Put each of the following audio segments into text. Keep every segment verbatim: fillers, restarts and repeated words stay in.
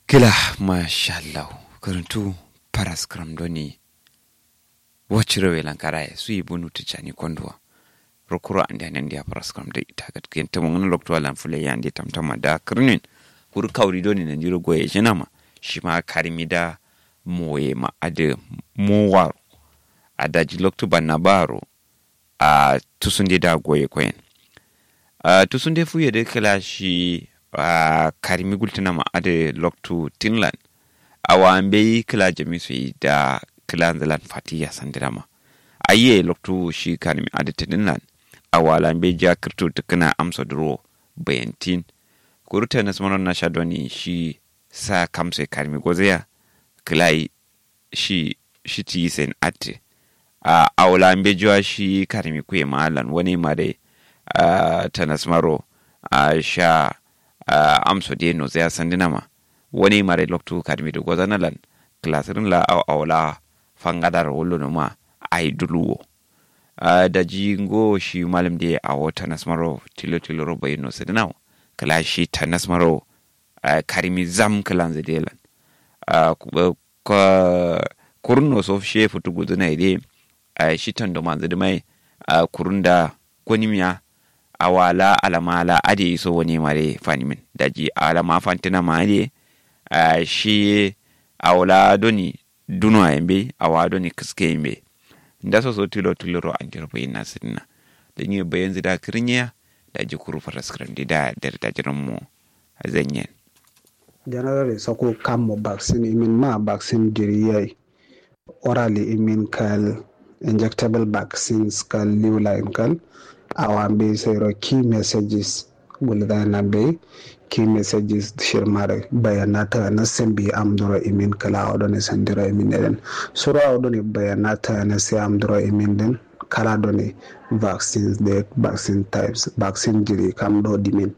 Kǝla mashallahu. Kǝrǝntu faraskǝram doni. Waciro welan karaye suyi bunu tǝcani konduwa. Rokuro andiya nandiya faraskǝram dai ita gatkiyen tǝmongǝna loktu alan fǝlai yande tamtama da kǝrnin. Kuru kauri doni nandiro goye shinama. Shima karimi da moye ma adǝ mowaro. Adaji loktu banna baro. A tusunde da goye koyen. A tusunde fuye dǝ kǝla shi a karimi gultǝnama adǝ loktu tinlan. Awa mbeyi kǝla jami soyi da kǝla nzǝlan fatiya sandǝnama. Ayiye loktu shi karimi adǝ tinlan. Awa la mbeyi ja kǝrtu tǝkǝna amso duro bayantin. Kuru tanas mano nasha doni shi sa kamse karimi gozeya. Kǝla yi shi shi ti sen atte. A awla mbejuwa shi karimi kuye ma lan wani ma dai. A tanas maro a sha a amso de no zai sandina ma. Wani ma dai loktu karimi do gozana lan klasirin la aw awla fangadar wullo no ma ai duluwo. A daji ngo shi malum de awo tanas maro tilo tilo ro bayin no sidina. Kla shi tanas maro a karimi zam klanzi de lan. A kurun no so she futu guzuna ide. A shi tando manzu dumai a kurun da gonimiya. Awa la alama la ade iso wani mare fanimin daji alama fantina ma ade. A shi awla doni duno a yambe awa doni kiske yambe. Nda so so tilo tilo ro anjiro bayin na sidina. Dani bayin zida kirnya. Daji kuru faraskram dida dare daji rammo. Zanyen. Generally soko kammo vaccine imin ma vaccine jiri yayi. Orally imin kal injectable vaccines kal liwla in kal. Awa mbe sayro key messages gulgana mbe key messages shirmare bayanata na sambi amduro imin kala awa done sandiro imin eden. Suro awa done bayanata na sai amduro imin din. Kala done vaccines de vaccine types vaccine jiri kam do dimin.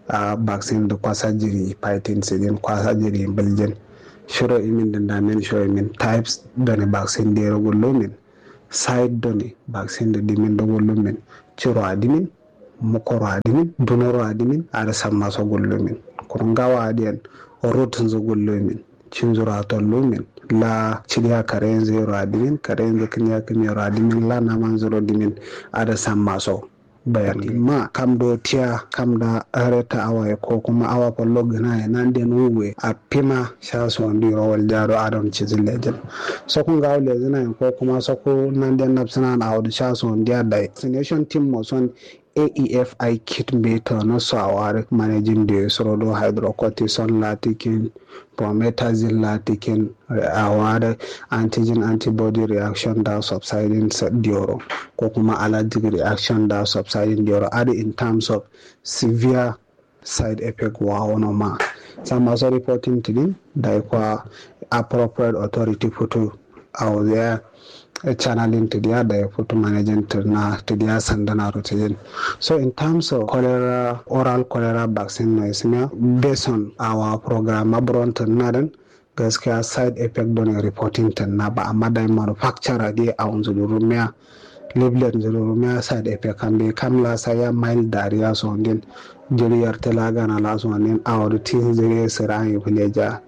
A vaccine do kwasa jiri fighting sidin kwasa jiri mbiljin. Shiro imin din damin shiro imin types done vaccine de ro gullumin. Side done vaccine do dimin do gullumin. Ciro adimin mukoro adimin dunoro adimin ada samma so gullumin. Kuru ngawa adiyan rotunzu gullumin. Cinzuro atollumin la cidiya karenzu yero adimin karenzu kiniya kimiyero adimin la namanzuro dimin. Ada samma so bayani ma kam do tiya kam da reta awaye ko kuma awa fallo gǝnaye nanden wuwe a fima sha sondiro waljado adon cizin lejin. Sokku ngawo lezinayen ko kuma sokku nanden nafsǝnan awodo sha sondiya dai vaccination team mo son aefi kit mbe tano so awari managing de suro do hydrocortison latikin promethazine latikin awari antigen antibody reaction da subsiding dioro ko kuma allergic reaction da subsiding dioro adi in terms of severe side effect wawono ma. Samma so reporting tidin dai kwa appropriate authority futu awo ya channeling tidiya da ya futu managing tirna tidiya sandana ro tidin. So in terms of cholera oral cholera vaccine no ismiya based on our program abron tirna din gaskiya side effect done reporting tirna ba amma dai manufacturer de awunzu durumiya leaflet nzu durumiya side effect kambe kam la saya mild diarrhea so din jiri yarte la gana la so din awo du tin zire sira yi fuleja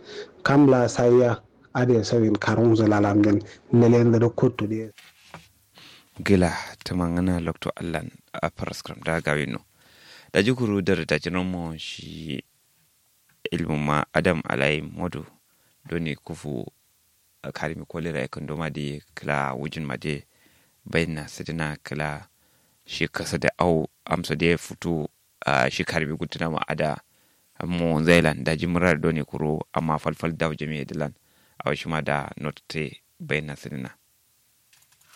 kam la saya ade sawin karunzu lalamden lelende do kuttu de. Gila tumangana lokto allan a paraskram da gawino. Daji kuru dare daji nomo shi ilmu ma adam alai modu doni kufu karimi kolera ya kando ma de kla wujin ma de bayin na sidina kla shi kasa da au amsa de futu. A shi karimi gutuna ma ada mo zailan daji murar doni kuro amma falfal daw jami'a dilan. Awa shi ma da notte bayin na sidina.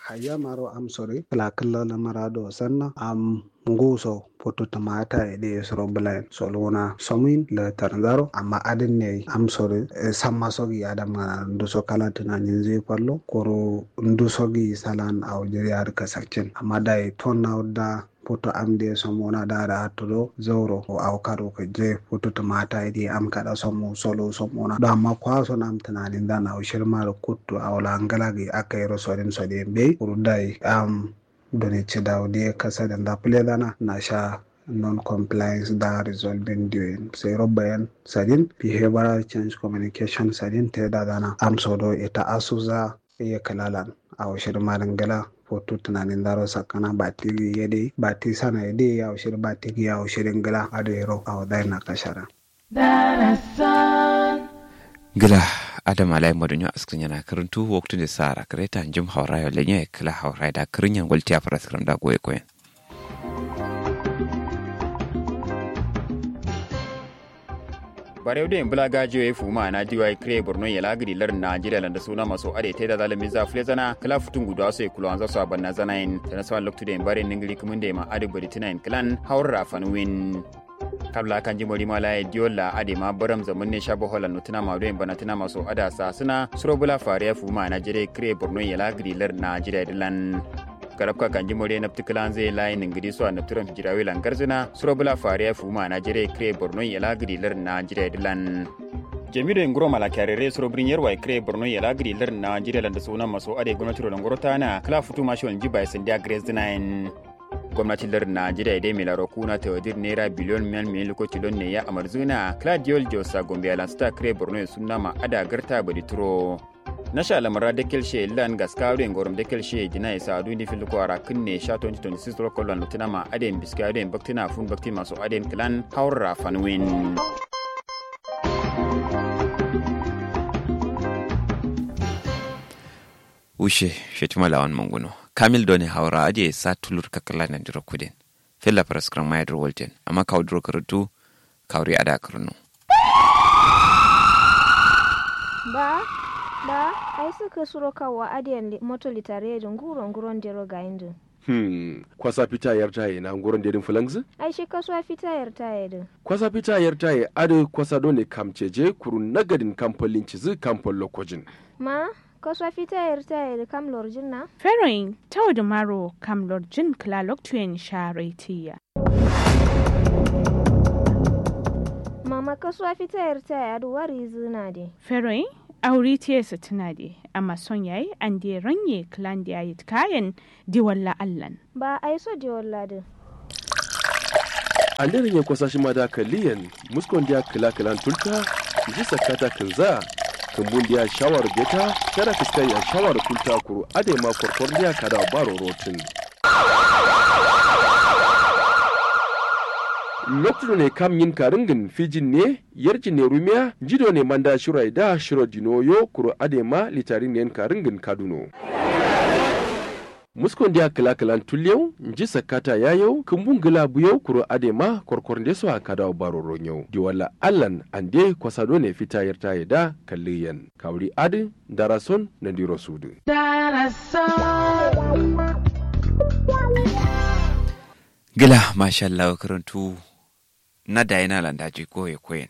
Hayya maro amsori kla kla lamara do sanna am nguso putu tumata ede soro bulayin solona somin la tarzaro amma adin ne amsori. Samma sogi adam ngana nduso kala tunanin zai fallo koro ndusogi salan awo jiri ad kasarcin amma dai tonna wadda putu amde somona dara attudo zauro awo kado kajje putu tumata idi am kada somu solo somona do amma kwaso nam tunanin dan awo shirmaro kuttu awo la ngalagi akairo sodin sodin bei kuru dai am done cidawo diye kasa da nda pule dana nasha. Non compliance da resolving duyin, sero bayan sadin, behavioral change communication sadin, te da zana amso do ita asuza. Ye kalalan awo shirin marin gala. Fotu tunanin daro sakkana bati ye dai, bati sana ye dai, awo shirin bati ye awo shirin gala ado yero awo dai na kashara. Gla adam alai madunyo askrin yana karantu waktu ne sa rakare ta njim haura yo lenye kla haura da krin yan gwaltiya faras kram da goye koyen. Barew doi bla gajiyo ye fuma na diwai kre borno ye lagri lar najeriya landa suna maso ade taida zalin miza flezana kla futun gudu aso ye kuluwanza so abanna zanayin tana sawan loktu doi bare ningiri kumun doi ma ade bari tunayin klan haurra fanwin. Kabla kanji mori ma laye diyolla ade ma baram zamun ne sha bohola nutuna ma doi bana tuna maso ada sa suna suro bla fariya fuma najeriya kre borno ye lagri lar najeriya dilan. Karabka kanji mori nabtu klan zai laye ningiri so a nabturam hijirawi langar zina suro bla fariya fuma najeriya kre borno ye lagri lar najeriya dilan. Jamilu nguro malakarere suro birin yarwa kre borno ye lagri lar najeriya landa suna maso ade gwamnati ro langoro tana kla futu mashi wani jiba ya sandiya grace dinayin. Gwamnati lar najeriya dai milaro kuna tawadir naira biliyon miyan miyan lokaci don ne ya amarzuna kla diyol josa gombe alansuta kre borno ya suna ma ada garta badi turo. Nasha lamara dekel she lan gaska ado en gorom dekel she dina isa adu indi fil ko ara kinne sha twenty twenty-six rokol lan lutuna ma ade en biska ado en baktina fun baktin maso ade en klan haurra fanwin. Ushe shetima lawan manguno kamil doni haura ade sa tulur kakala nan diro kuden. Fella paraskram ma yadro walten amma kawo duro karatu kawri ada karnu. Ba, ba, ai sǝkǝ suro kawo adiyan moto litare yedǝ nguro nguron dero gayindǝ. Hmm, kwasa fita yarta ye na nguron dedin fǝlangzǝ? Ai shi kasuwa fita yarta yedǝ. Kwasa fita yarta ye adǝ kwasa done kam ceje kuru nagadin kam fallin cizǝ kam fallo kojin. Ma, kasuwa fita yarta yedǝ kam lorjin na? Feroin, taudǝ maro kam lorjin kǝla loktuyen sha raitiya. Mama kasuwa fita yarta ya dǝ wari zǝna de. Feroin, auri tiye sǝtǝna de amma son yayi ande ranye kǝlan de yayi tǝkayen. Diwalla allan. Ba aiso diwalla dǝ. Ande ranye kwasa shima da kalliyen muskon diya kǝla kǝlan tulta. Nji sakkata kǝnza. Kǝmbun diya shawar beta. Kada kǝskan ya shawar kulta kuru adai ma korkor diya kada baro rotin. Loktu done kam nyin karingin fijin ne yarjin ne rumiya nji done manda shiro aida shiro dino yo kuru adai ma litarin ne karingin kaduno. Muskon diya kǝla kǝlan tulliyau nji sakkata yayau kǝmbun gǝla buyau kuru adai ma korkor nde so a kada baro ronyau diwalla allan ande kwasa done fita yarta yeda kalliyen. Kawuri adǝ ndarason nandiro sudǝ. Gla mashallah karantu. Na dayina landa ji koye koyen.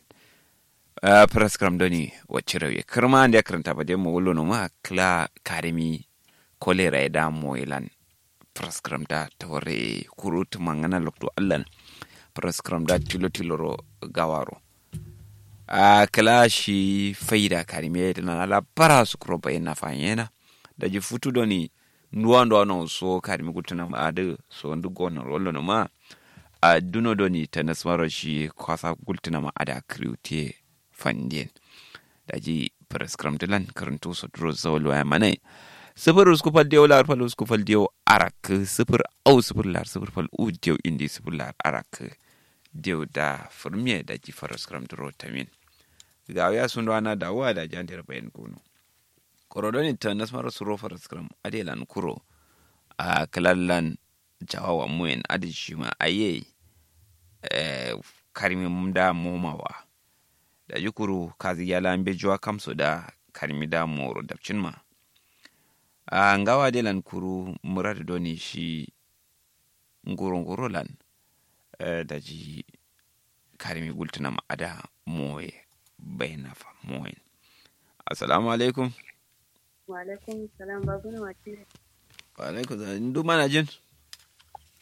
Praskram doni wacce rauye kǝrma ande karanta ba dai mawullo noma kla karimi. Kolera ye da moye lan. Praskram da taware kuru tǝmangana loktu allan. Praskram da tilo tiloro gawaro. Ahh kǝla shi faida karime dǝna na labara sukuro bayin na fanyena. Daji futu doni nduwa nduwa no so karime gultǝna ma adǝ so ndǝ gono rollo noma. Ahh duno doni tanasmaro shi kwasa gultǝna ma adǝ akriwutiye. Fandiyen. Daji faraskǝram dǝlan kǝrǝntu so duro zawal waya manaye. Sǝfǝr usku fal diyau lar fal usku fal diyau arakkǝ sǝfǝr au sǝfǝr lar sǝfǝr fal u diyau indi sǝfǝr lar arakkǝ. Diyau da fǝrmiye daji faraskǝram duro tamin. Gawiya sunduwa na dawuwa daji andero bayin gono. Koro done tanasmaro suro faraskǝram adelan kuro. Ahh kǝlallan. Jawawa muyen adǝ shima aye. Karmi mda momawa. Daji kuru kazi yala mbejuwa kamso da karmi da moro dapcinma. Ahh ngawa delan kuru muradu done shi. Nguro nguro lan. Daji karmi gultǝnama ada moye. Bainafa moyen. Assalamu alaikum. Wa'alaikum salam babun wacce. Wa'alaikum salam ndu manajin.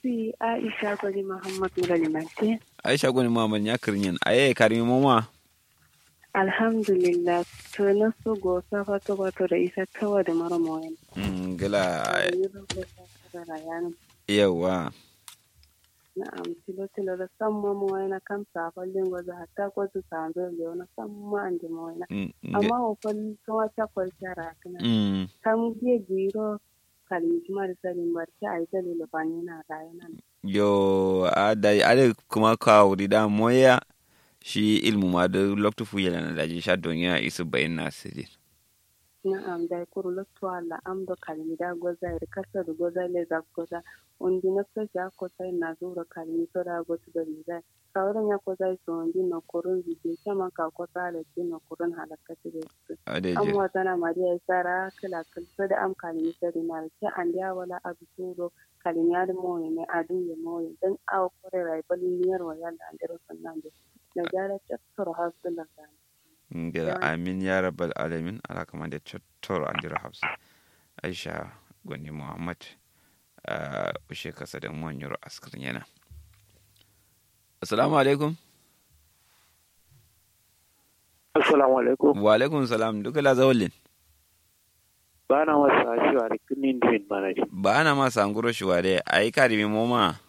Si aisha goni muhammad mura limantin. Aisha goni muhammad nya kǝrnyen aye karmi moma. Alhamdulillah. Tǝna so gosa fato fato da isa tawa da mara moyen. Ngla. Yauwa. Na'am, tilo tilo do samma moyena kam sa fallin goza hatta gozu sanzo lewono samma ande moyena. Amma wo fal tuma cakkol cara kina. Kam ge giro kalmi tuma da sadin barci ayi dalilo fanina rayena. Yo, a dai ade kuma kawuri da moya. Shi ilmu ma da loktu fuyelana daji sha doniya isu bayin na sidin. Na'am, dai kuru loktu alla am do kalmi da goza iri kasa do goza leza goza. Undi nafsa shi akko sai na zuro kalmi so da gotu do leza. Kawurin ya ko zai so undi no kurun zide shaman ka ko sala ji no kurun halakka ti de. Ade am je wazana mariya isara kala kal so da am kalmi so da na ce andiya wala abu suro. Kalmi ad moye ne adu ye moye dan awo kore rai bal niyar wa yalla andero sannan de. Na jara cattoro hasdullah. Ngila amin ya rabbal alamin. Ala kamande cottoro andiro hafsa. Aisha goni muhammad. Ushe kasa da mo nyiro askar nyena. Assalamu alaikum. Assalamu alaikum. Wa alaikum salam duka la zawalin. Bana masa shiwa da kinin duwin mana di. Bana masa nguro shiwa da ayi karimi moma.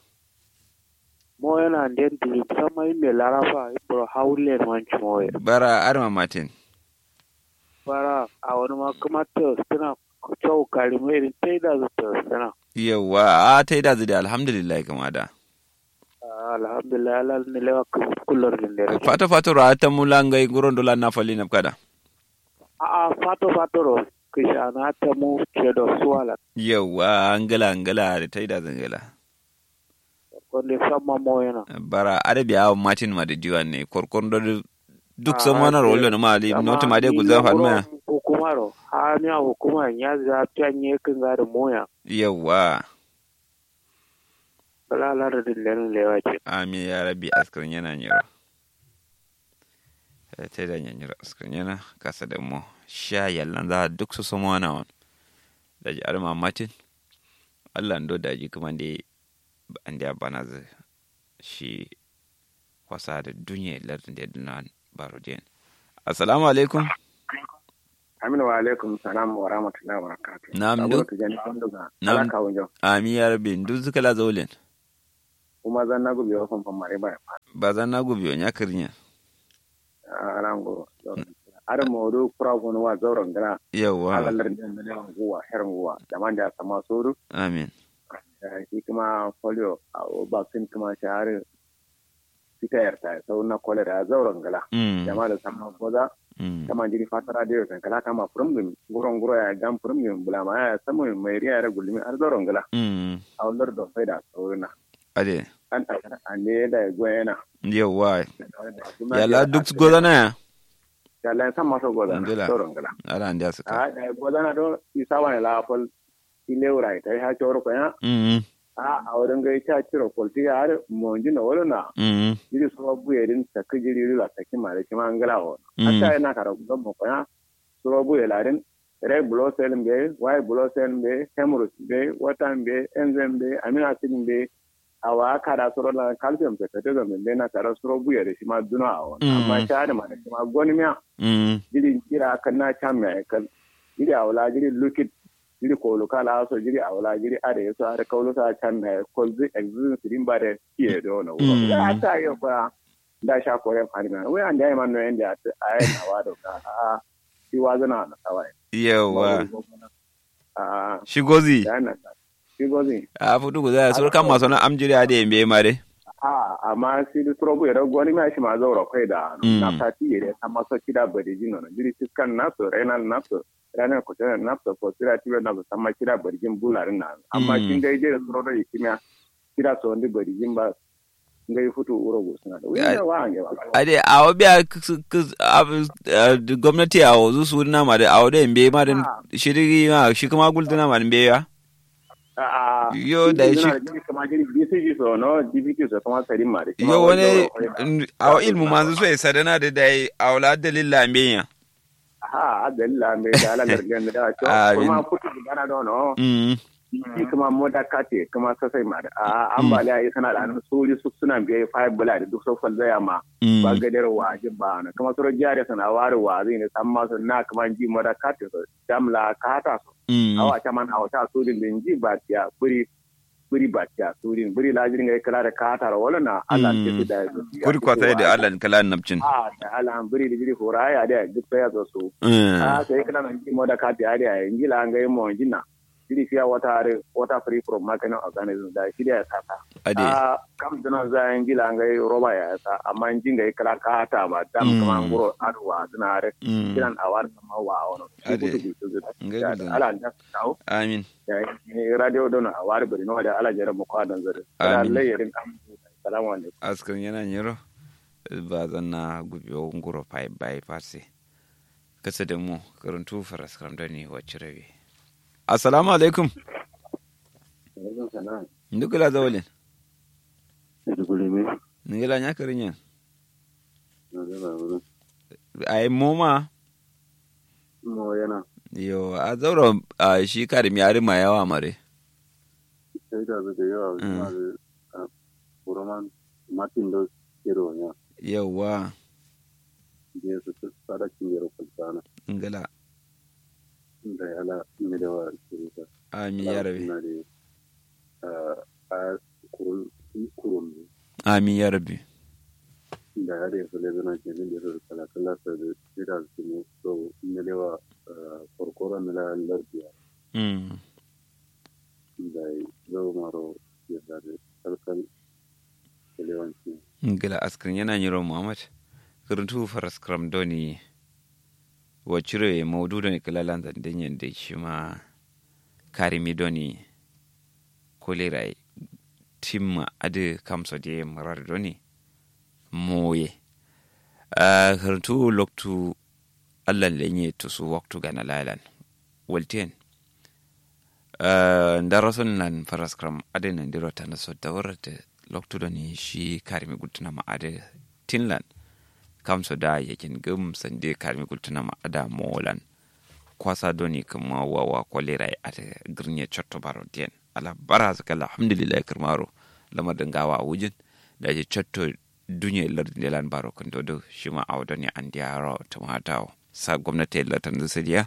Mo yana nden duri musamman imme larafa ibro hawulle man cimoye. Bara arma matin. Bara a wani ma kuma to suna. Cau kari mai din tai da zu to suna. Yawwa a tai da zu da alhamdulillah kuma da. Alhamdulillah ala ni lewa kullor din da. Fato fato ra ta mula ngai guron dola na fali na kada. A'a fato fato ro. Kishana ta mu ce da suwala. Yawwa angala angala da tai da zangala. Korkon de samma moyena. Bara ada biya awo matin ma da diwan ne korkon do. Duk samma na rollo na ma ali noti ma de gulza fan ma. Hukumaro ha miya hukuma nya za piya nye kinga da moya. Yawwa. Bala lar din lenin lewa ce. Amin ya rabbi askar yana nyiro. Te da nyanyiro askar yana kasa da mo sha yallan za duk su samma na wan. Daji arma matin. Allah ndo daji kuma de. Andiya banazu. Shi kwasa da dunye lardin da ya duna baro den. Assalamu alaikum. Amin wa alaikum salam wa rahmatullahi wa barakatuh. Na'am duk. Na'am. Ami ya rabbi duk zuka la zaulen. Kuma zan nagu biyo fanfan mare ba. Ba zan nagu biyo nya kirnya. Arango. Ada modu kura gonu wa zauren gana. Yawwa. Alalar da ne nguwa her nguwa da man da sama sodu. Amin. Shi kuma polio a vaccine kuma shahari. Fita yarta sau na kolera zauren gala. Jama da sama koza. Kama jiri fatara da yau sankala kama furum gumi guron guro ya gam furum gumi bulama ya samu mai riya da gulmi har zauren gala. A wallar da faida saurina. Ade. An takar ande da goyena. Yawwa. Yalla duk gozana ya. Yalla san maso gozana. Soron gala. Ala ande asuka. A da gozana do isa wani la fal. Ile urai tai ha choro koya. Mm. A awren ga cha chiro kolti ya har monji no wala na. Mm. Jiri so buye din sakki jiri la sakki mare kima ngala wo. Hatta ina kara gomma koya. Suro buye la din. Red blood cell mbe, white blood cell mbe, hemorrhoid mbe, water mbe, enzyme mbe, amino acid mbe. Awa kada suro la calcium se kate zo mbe na kada suro buye de shima duno awo. Amma sha de ma de shima goni miya. Jiri jira kan na cham ya kal. Jiri awla jiri lukit. Jiri kolu kala so jiri awla jiri are so are kaulu sa cham ya kol zi exist din ba de. Kiye do no. Ya ta yo kwa. Nda sha kore fani ma wai ande ai man no yende ati ai na wado ka a. Shi wazana na kawai. Yawa. A shi gozi. Shi gozi. A futu guza ya sur kan maso na amjiri ade mbe mare. A amma shi du trobu ya rago ni ma shi ma zaura kai da na sati ya dai amma so kida bari jino na jiri fiskan naso renal naso renal ko tana naso ko sira tibe naso amma kida bari jin bularin na amma kin dai je suro da kimiya. Kida so ndi bari jin ba. Ngai futu uro gusuna da wai da wa ngai ba. Ade awo biya gomnati awo zu su na ma da awo da mbe ma da. Shiri ma shi kuma gultuna ma da mbe ya. Yo da shi. Kuma jiri bcg so no dpt so kuma sarin ma da yo wani. Awo ilmu manzu so ya sadana da dai awo la dalil la mbe ya. Aha dalil la mbe da ala gargan da to kuma futu gana dono. Shi kuma moda kate kuma sasai ma da a ambaliya ya sana da hannun sori su suna biya ya fayar bula da duk sofal zaya ma. Ba gadar wa jin ba na kuma soro jiya da sana wari wa zai ne san ma su na kuma ji moda kate su damla kata su. Awa ta man awa ta sojin da ji ba ya buri. bǝri batiya sudin bǝri la jirin gai kǝla da kataro wala na allan tisi da kuri kwasa da allan kala nabcin a da allan bǝri da jiri hura ya da duk sai ya zo su a sai kala nan ji mo da kati ya da ya inji la ngai mo inji na jiri fiya wata are wata free from marketing organism da shi da ya sata ade a kam dana za inji la ngai roba ya sa amma inji ngai kala kata ma dam kuma nguro adwa dana are kiran awar ma wa wono ade ngai allan da amin radio don a wari bari no da ala jere mu kwa dan zare amin lai yarin kam salamu alaikum askar yana nyero ba zanna gubiyo nguro pai bai farse kasa da mu karuntu faras karam da ni wacce rabe assalamu alaikum alaikum salam ndukula zawalin ndukula me ndukula nya karin yan ai moma mo yana yo a zauro a shi kari mi ari ma yawa mare sai da zai yawa ma zai kuroman matin da kiro ya yawa je su su tsada kin yaro kulsana ngala da yala mi da wa kirita amin ya rabi a kurun kurun amin ya rabi da ya da ya fule zana ke min da su kala kala sa da sai da su ne so mi da wa korkoro mi la lardiya mm da zo maro ya da kalkal kalewanci ngila askrin yana nyiro muhammad kuruntu faras kram doni waciro ye maudu doni kala lanzan dinyen da shi ma karimi doni kolera timma adi kamso de murar doni moye a kuruntu loktu allan lenye tusu waktu gana lailan walten ndarason lan faraskram adai nandiro tanaso dawarata loktu doni shi karimi gultuna ma adai tinlan kamso da yakin gum sande karimi gultuna ma ada molan kwasa doni kuma wawa kolera ya ata girnya cotto baro den ala bara zaka alhamdulillah kirmaro lamar dangawa wujin da je cotto dunye lardi ndelan baro kǝndodo shima awo done andiya ro tǝmatawo sa gomnati ye lartan zǝ sǝdiya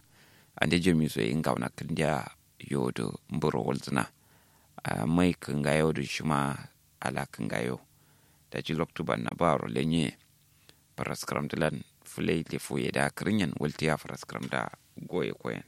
ande jamiso ye ngawna kǝndiya yodo mburo walzǝna mai kǝngayo do shima ala kǝngayo daji loktu banna baro lenye faraskǝram dǝlan fǝlai lefu ye da kǝrinyen waltiya faraskǝram da goye koyen